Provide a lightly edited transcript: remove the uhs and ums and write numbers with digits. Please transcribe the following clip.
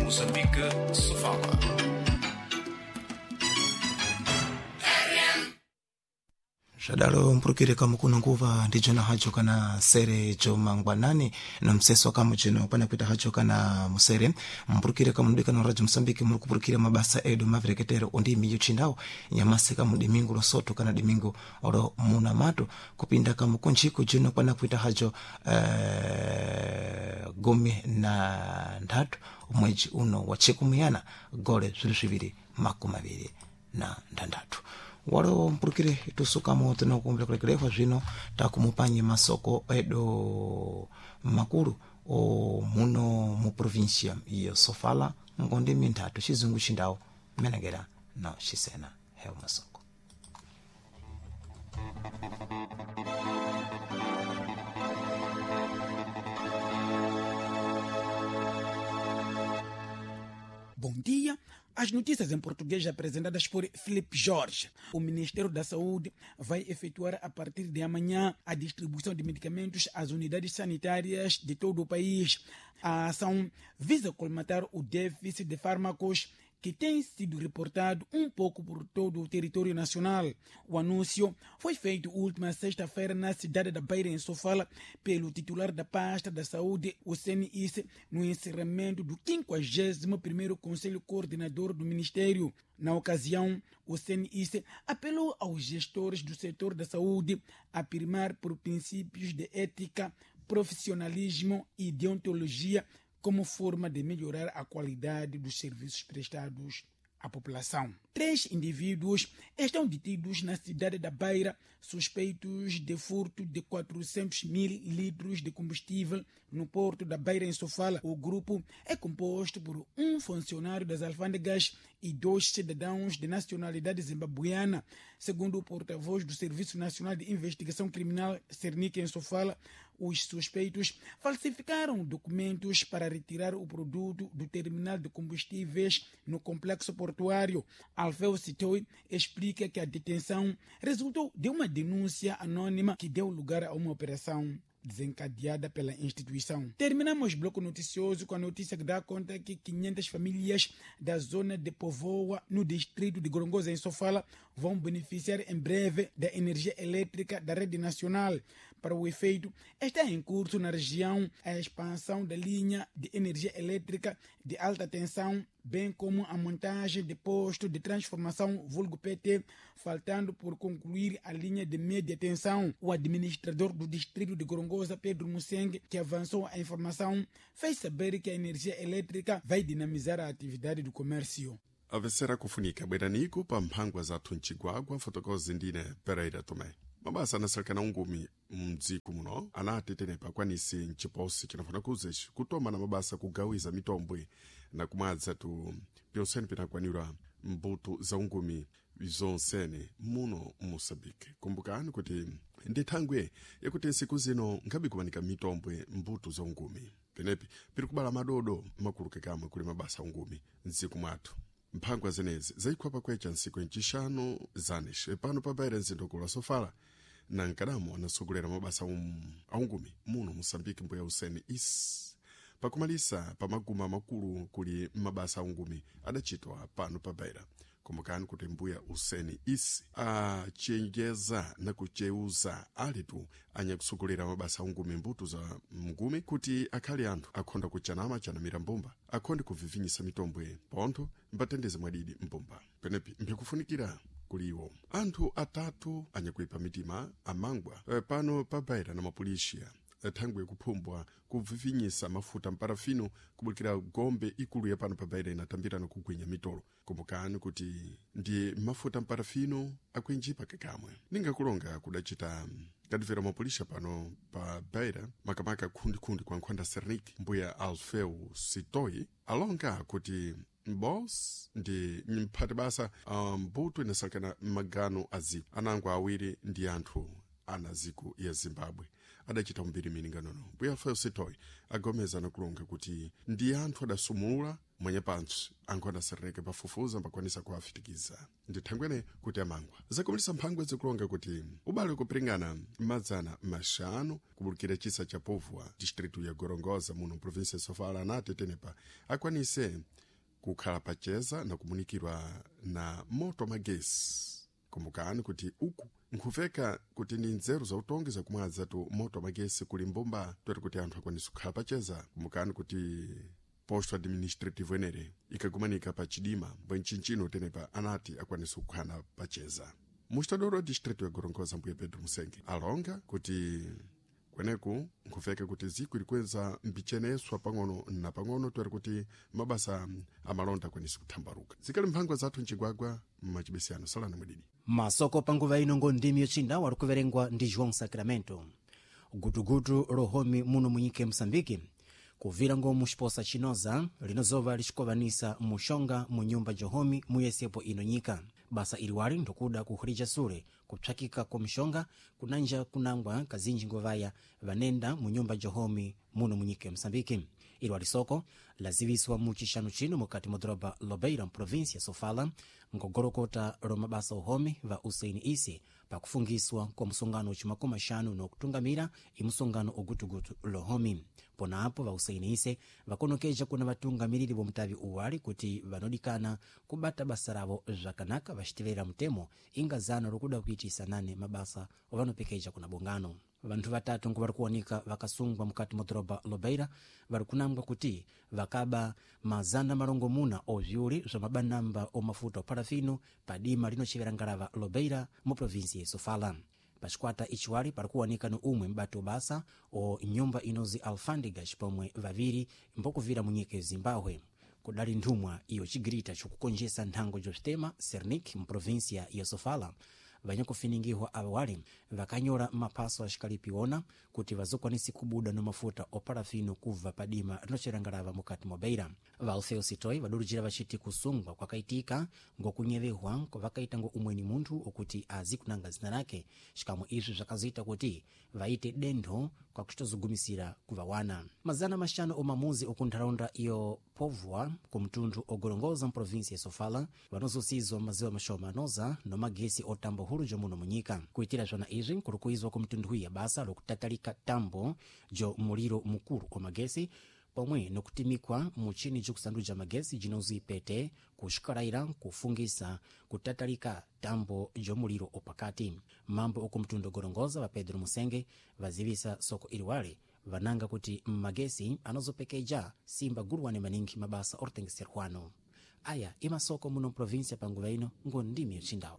Moçambique, Sofala. Zvadalo mpurukire kamukuno nguva ndijona hajo kana sere jomangwanani na mseso kamu jino pana kuita hajo kana musere mpurukire kamudikana radio Mosambiki muri kupurukira mabasa edu mavereketero ondimi yochindao nyamasi kamu dimingu losoto kana dimingu ro munamato kupinda kamukunjiko jino pana kuita hajo 13 mwedzi uno wa chikumuyana gole zviri 2026 walo mpurukire tusukamo tinokumbira zvino takumupanye masoko edu makulu o muno mu província ya Sofala ngonde minthatu chizungu chindawo menengera na xisena heo masoko. Bom dia. As notícias em português apresentadas por Felipe Jorge. O Ministério da Saúde vai efetuar a partir de amanhã a distribuição de medicamentos às unidades sanitárias de todo o país. A ação visa colmatar o déficit de fármacos que tem sido reportado um pouco por todo o território nacional. O anúncio foi feito última sexta-feira na cidade da Beira, em Sofala, pelo titular da pasta da Saúde, o CNIS, no encerramento do 51º Conselho Coordenador do Ministério. Na ocasião, o CNIS apelou aos gestores do setor da saúde a primar por princípios de ética, profissionalismo e deontologia como forma de melhorar a qualidade dos serviços prestados à população. 3 indivíduos estão detidos na cidade da Beira, suspeitos de furto de 400 mil litros de combustível no porto da Beira, em Sofala. O grupo é composto por um funcionário das alfândegas e 2 cidadãos de nacionalidade zimbabweana. Segundo o porta-voz do Serviço Nacional de Investigação Criminal, Cernic, em Sofala, os suspeitos falsificaram documentos para retirar o produto do terminal de combustíveis no complexo portuário. Alfeu Sitoi explica que a detenção resultou de uma denúncia anônima que deu lugar a uma operação desencadeada pela instituição. Terminamos o bloco noticioso com a notícia que dá conta que 500 famílias da zona de Povoa, no distrito de Gorongosa, em Sofala, vão beneficiar em breve da energia elétrica da rede nacional. Para o efeito, está em curso na região a expansão da linha de energia elétrica de alta tensão, bem como a montagem de posto de transformação vulgo PT, faltando por concluir a linha de média tensão. O administrador do distrito de Gorongosa, Pedro Museng, que avançou a informação, fez saber que a energia elétrica vai dinamizar a atividade do comércio. Avesera kufunika bweraniko pa mphangwa zathu mcigwagwa fotokozi ndine Pereira Tomé. Mabasa anasalekana ungumi mdziko muno anati tenepa akwanisi mciposi cinafuna kuzeci kutoma na mabasa kugawiza mitombwe na kumadza tu pyonsene pinakwanirwa mbuto za ungumi zonsene muno Moçambique. Kumbukani kuti ndi thangwe yakuti nsiku zino nkhabe kumanika mitombwe mbuto za ungumi penepi piri kubala madodo makulu kekamwe kuli mabasa ungumi mdziko mwathu. Mphangwa zenezi zayikhwapa kwecha nsiku incixanu zanes pano pabaira mzindoko la Sofala na nkadamo anasogolera mabasa aungumi muno Moçambique mbuya Hussein Is pakumalisa pamaguma makulu kuli mabasa aungumi adachitwa pano pabaira. Kumbukani kuti mbuya Hussein Is achenjeza na kucheuza alitu anyakusogolera mabasa aungumi mbuto za mngumi kuti akhale anthu akhonda kuchanama chanamira mbumba akhonde kuvivinyisa mitombwe pontho mbatendeze mwadidi mbumba penepi mpikufunikira kuliwo anthu atatu anyakuipa mitima amangwa pano pabaira na mapolisiya thangwe kuphumbwa kuvivinyisa mafuta mparafino kubulikira gombe ikulu ya pano pabaira inatambirana kugwinya mitolo. Kumbukani kuti ndi mafuta mparafino akuinjipa kekamwe ningakulonga kudacita kadivera mapolisha pano pa baira makamaka khundikhundi kwa nkhwanda Sernik mbuya Alfeu Sitoi alonga kuti mbos ndi mphati basa mbuto inasalekana magano a ziko anango awiri ndi anthu ana ziko ya Zimbabwe. Adachita umbiri mininganono mbuya Alfeo Sitoyi agomeza nakulonga kuti ndi anthu adasumula mwenye pantsi ankho adaserereke pafufuza mbakwanisa kuwafitikiza ndithangwene kuti amangwa. Zakumilisa mphangwe zikulonga kuti ubale kupiringana 500 kubulukira chisa cha Povwa, distritu ya Gorongosa, muno provinsia ya Sofala, anati tenepa akwanise kukhala pacheza na kumunikirwa na moto magesi. Kumbukani kuti uku nkhuveka kuti ndi nzeru zautongi zakumwadza tu moto magesi kuli mbumba twete kuti anthu akwanise kukhala pacheza. Kumbukani kuti posto administrativo enere ikagumanika pa chidima bwenchinchino tenepa anati akwanise kukhala pacheza. Mustadoro wa distrito ya Gorongosa, mbuye Pedro Musenge, alonga kuti kweneku nkhuveka kuti ziko ilikweza mbicheneswa pang'ono na pang'ono twere kuti mabasa amalonda akwanise kuthambaluka. Zikali mphangwa zathu mcigwagwa mmachibesiyano. Salani mwididi. Masoko panguva ino ngo ndimi yochinda wali kuverengwa ndi João Sacramento. Gutugutu lohomi muno munyika ya Moçambique kuvira ngo muxiposa chinoza linozova lixikovanisa muxonga mu nyumba johomi muyesepo ino nyika. Basa iliwali ndikuda kuhulija sule kupsakika kwa mxonga kunanja kunangwa kazinji ngovaya vanenda mu nyumba johomi muno munyika ya Moçambique. Iliwali soko laziwiswa mu chixanu chino mukati mwa doroba Lobeira mprovinsia Sofala ngogolokota lomabasa uhomi va Usaini Isi pakufungiswa kwa msongano wachimakumi axanu nokutungamira imusongano ugutugutu lohomi. Ponapo va Usaini Ise vakonokeja kuna vatungamiriri vomutavi uwali kuti vanodikana kubata basa ravo zvakanaka vaciteverera mutemo inga zano lokuda kuitisa nane mabasa ovanopekeja kuna bungano. Vanthu vatatu ngo vari kuwanika vakasungwa mukati mwa doroba Lobeira vari kunangwa kuti vakaba 600 oviuli zwa mabanamba omafuta oparafino pa dima linochevera ngalava Lobeira mu provinsi ya Sofala. Pacikwata ichiwali pari kuwanika ni umwe mbati wabasa o nyumba inozi Alfandigas pomwe vaviri mbokuvira mu nyika ya Zimbabwe. Kudali nthumwa iyo chigirita chikukonjesa nthango jositema Sernik mprovinsia ya Sofala vanyakufiningihwa awali vakanyola maphaso axikalipiwona kuti vazokwanisi kubuda no mafuta oparafino kubva padima rinocerangalava mukati mwa Beira. Va Alfeo Sitoi vadurujira vachiti kusungwa kwakaitika ngokunyevehwa kwavakaita ngo umweni munthu okuti azi kunanga zina lake, xikamwe izvi zvakazoita kuti vaite dentho kwakuchitozogumisira kuvawana. 500 omamuzi okuntaraunda iyo Povwa kumtundu ogorongoza mprovinsi ya Sofala vanozosizwa maziwa mashoma anoza nomagesi otambo hulu jomuno munyika. Kuitira zvona izvi kuri kuizwa kumtundu ya basa lokutatalika tambo jo muliro mukulu omagesi pomwe nokutimikwa muchini jokusanduja magesi jinozi pete kuxikalaira kufungisa kutatalika tambo jomuliro opakati. Mambo okumtundu ogorongoza va Pedro Musenge vazivisa soko iliwali vananga kuti magesi anozopekeja simba guluwane maningi mabasa oritengeserwano. Aya imasoko muno provinsia panguva ino ngo ndimi yochindawo.